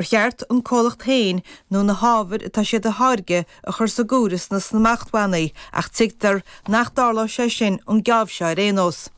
Cheart an comhlacht féin nó na hábhair atá siad a tháirgeadh a chur sa gcomhaireamh sna smachtbhannaí ach tuigtear nach dtarlóidh sé sin an geábh seo ar aon nós.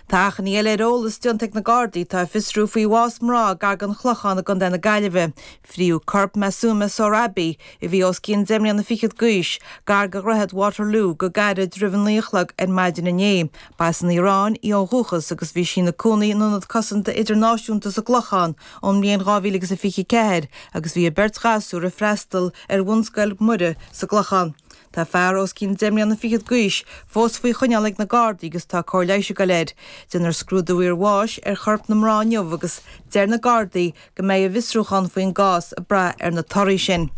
Tá achainí eile ar eolas déanta ag na Gardaí atá ag fiosrú faoi bhás mná gar don Chlochán i gContae na Gaillimhe. Fríodh corp Masooma Sohrabi, a bhí os cionn deich mbliana fichead d'aois, gar do Dhroichead Waterloo go gairid roimh a naoi a chlog ar maidin inné. Ba as an Iaráin í ó dhúchas agus bhí sí ina cónaí in Ionad Cosanta Idirnáisiúnta sa gClochán ón mbliain 2024 agus bhí a beirt ghasúr ag freastal ar Bhunscoil Mhuire sa gClochán. Tá fear os cionn deich mbliana fichead d'aois fós faoi choinneáil ag na Gardaí agus tá cóir leighis ag goil air. Déanfar scrúdú iarbháis ar chorp na mná inniu agus deir na Gardaí go mbeidh a bhfiosrúchán faoin gcás ag brath ar na torthaí sin.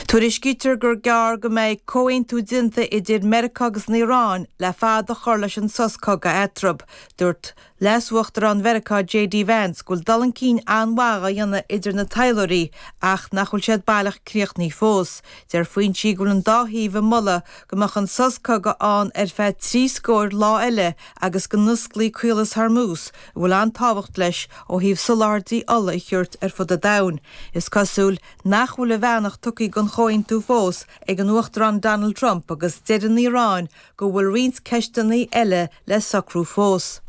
Tuairiscítear gur gearr go mbeidh comhaontú déanta idir Meiriceá agus an Iaráin le fad a chur leis an sos cogaidh eatarthu. Dúirt Leas-Uachtarán Mheiriceá JD Vance go bhfuil dul chun cinn an-mhaith á dhéanamh idir na taidhleoirí ach nach bhfuil siad baileach críochnaithe fós. Deir foinsí go bhfuil an dá thaobh ag moladh go mbeadh an sos cogaidh ann ar feadh trí scóir lá eile agus go n-osclaí Caolas Hormuz, a bhfuil an-tábhacht leis ó thaobh soláthairtí ola a thabhairt ar fud an domhain. Is cosúil nach bhfuil a bheannacht tugtha don chomhaontú fós ag an Uachtarán Donald Trump agus deir an Iaráin go bhfuil roinnt ceisteanna eile le socrú fós.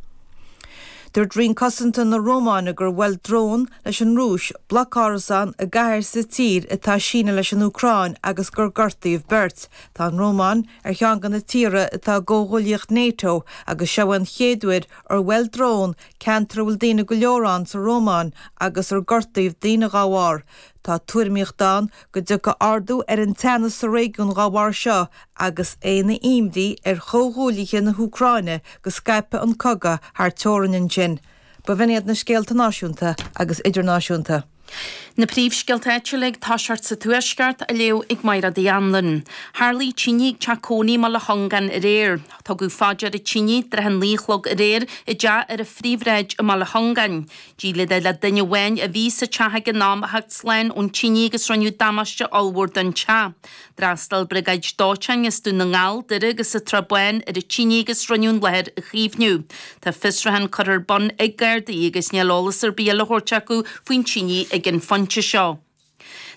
Dúirt Roinn Cosanta na Rómáine gur bhuail drón leis an Rúis bloc árasán i gcathair sa tír atá ag síneadh leis an Úcráin agus gur gortaíodh beirt. Tá an Rómáin ar cheann de na tíortha atá i gcomhghuaillíocht NATO agus seo an chéad uair ar bhuail drón ceantar a bhfuil daoine go leor ann sa Rómáin agus ar gortaíodh daoine dá bharr. Tá tuairimíocht ann go dtiocfaidh ardú ar an teannas sa réigiún dá bharr seo agus é ina imní ar chomhghuaillithe na hÚcráine go scaipfidh an cogadh thar teorainn ansin. B'in iad na scéalta náisiúnta agus idirnáisiúnta. Na príomhscéalta áitiúla ag toiseacht sa Tuaisceart á léamh ag Mairéad Uí Anluain. Tharlaigh tine ag teach cónaí i mBaile Chongáin aréir. Tugadh fá deara tine i dtrátha a naoi a chlog aréir i dteach ar an Phríomhshráid i mBaile Chongáin. D'éirigh le duine amháin a bhí sa teach ag an am a theacht slán ón tine agus rinneadh damáiste ollmhór don teach. D'fhreastail briogáid dóiteáin as Dún na nGall, Doire agus an tSrath Bán ar an tine agus rinneadh an láthair a chaomhnú. Tá fiosrúchán curtha ar bun ag Gardaí agus níl eolas ar bith eile á thabhairt acu faoin tine ag an phointe seo.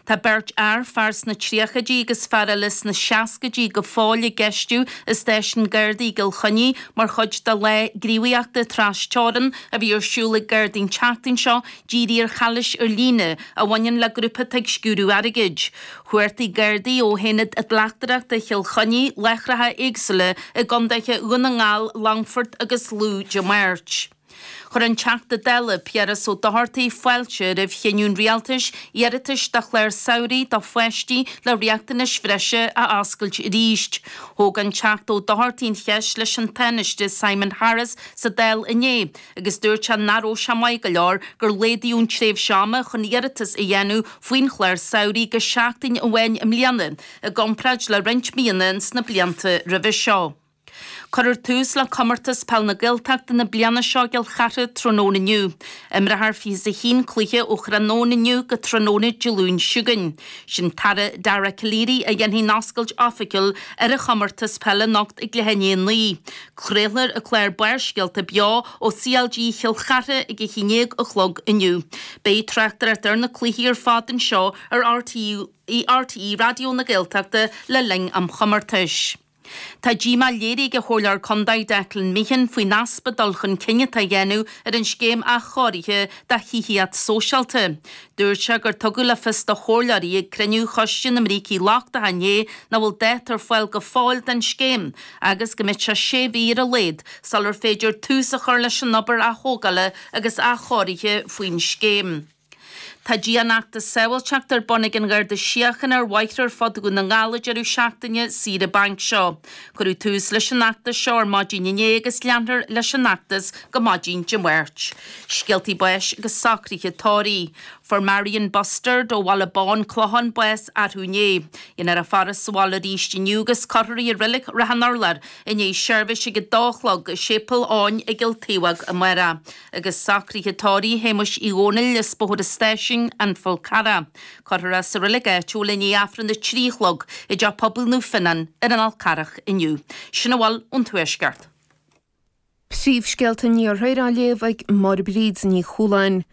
Tá beirt fhear, fear sna tríochaidí agus fear eile sna seascaidí, go fóill á gceistiú i stáisiún Gardaí i gCill Chainnigh mar chuid de lá gníomhaíochta tras-teorann a bhí ar siúl ag Gardaí an tseachtain seo dírithe ar chalaois ar líne a bhaineann le grúpa atá ag sciúradh airgid. Chuartaigh Gardaí ó Aonad Bleachtaireachta Chill Chainnigh láithreacha éagsúla i gcontaetha Dhún na nGall, Longfort agus Lú Dé Máirt. Chuir an Teachta Dála Piaras Ó Dochartaigh fáilte roimh chinneadh an Rialtais iarratais do chláir samhraidh do pháistí le riachtanais bhreise a oscailt arís. Thóg an Teachta Ó Dochartaigh an cheist leis an Tánaiste Simon Harris sa Dáil inné agus dúirt sé nach raibh sé maith go leor gur laghdaíodh an tréimhse ama chun iarratas a dhéanamh faoin chlár samhraidh go seachtain amháin i mbliana i gcomparáid le roinnt míonna ins na blianta roimhe seo. Cuirfear tús le Comórtas Peil na Gaeltachta na bliana seo i gCill Chartha tráthnóna inniu. Imreofar 21 cluiche ó thráthnóna inniu go tráthnóna Dé Luain seo chugainn. Sin tAire Dara Calleary a dhéanfaidh an oscailt oifigiúil ar an chomórtas peile anocht ag leath i ndiaidh a 9. Craolfar an clár Barrscéalta beo ó CLG Chill Chartha ag a haon déag a chlog inniu. Beidh tráchtaireacht ar na cluichí ar fad anseo ar RTÉ Raidió na Gaeltachta le linn am chomórtais. Tá díomá léirithe ag an Chomhairleoir Contae Declan Meehan faoin easpa dul chun cinn atá á dhéanamh ar an scéim athchóirithe do thithíocht sóisialta. Dúirt sé gur tugadh le fios do chomhairleoirí ag cruinniú Choiste na mBrící Lochtacha inné nach bhfuil dáta ar fáil go fóill don scéim agus go mbeidh sé sé mhí ar a laghad sular féidir tús a chur leis an obair aththógála agus athchóirithe faoin scéim. Tá dianfheachtas sábháilteachta ar bun ag an Gharda Síochána ar bhóithre ar fud Dhún na nGall an deireadh seachtaine saoire bainc seo. Cuireadh tús leis an fheachtas seo ar maidin inné agus leanfar leis an fheachtas go maidin Dé Máirt. Scéaltaí báis agus socruithe tórraimh. Fuair Marion Bustard ó Bhaile Bán, Clochán, bás arú inné. Déanfar a faire sa bhaile arís inniu agus cuirfear í i Reilig Ráth an Urláir i ndiaidh seirbhís ag a dó a chlog i Séipéal Eoin i gCill Taobhóg amárach. Agus socruithe tórraimh Shéamuis Uí Dhónaill as Bóthar an Stáisiúin, An Fál Carrach. Cuirfear é sa reilig áitiúil i ndiaidh Aifreann a 3 a chlog i dTeach Pobail Naomh Fionnán ar an Fhál Carrach inniu. Sin a bhfuil ón Tuaisceart. Príomhscéalta an Iarthair á léamh ag Máire Bríd Ní Chualáin.